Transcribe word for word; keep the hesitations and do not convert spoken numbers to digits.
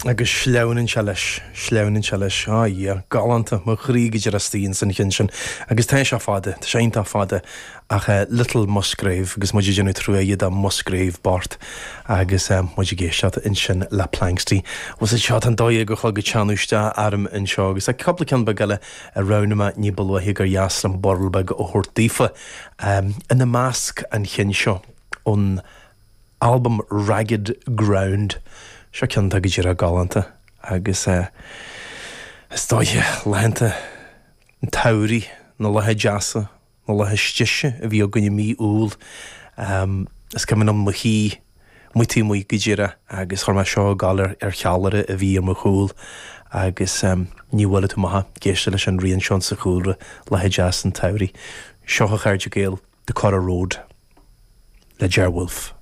Agus sleamhnann sé leis, sleamhnann sé leis, ah yeah, galánta, mo chroí go díreach istigh ins an cheann sin. Agus tá sé fada, tá sé iontach fada, ach eh, Little Musgrave, agus muid ag déanamh truaighe do Musgrave bocht, agus eh, muid ag éisteacht ansin le Planxty. Was it seo an dóigh go chlog ag teannadh isteach orm anseo, agus tá cúpla ceann beag eile a roghnaigh mé ní ba luaithe gur dheas liom burl beag a thabhairt daofa. Um, ina measc an cheann seo ón albam Ragged Ground. Seo ceann atá go díreach galánta agus eh, is dóiche laethanta an tsamhraidh na laetha deasa na laetha deise a bhí againn i mí Iúil. Um, is cuimhin liom mo shuí muti mu go díreach agus chuir mé seo ag gabháil ar ar cheallaire a bhí ar mo chúl agus um, ní bhfuil tú maith ag éisteacht leis an rian seo sa chúlra laetha deasa an tsamhraidh. Seo a chairde Gael The Curragh Road le Ger Wolfe.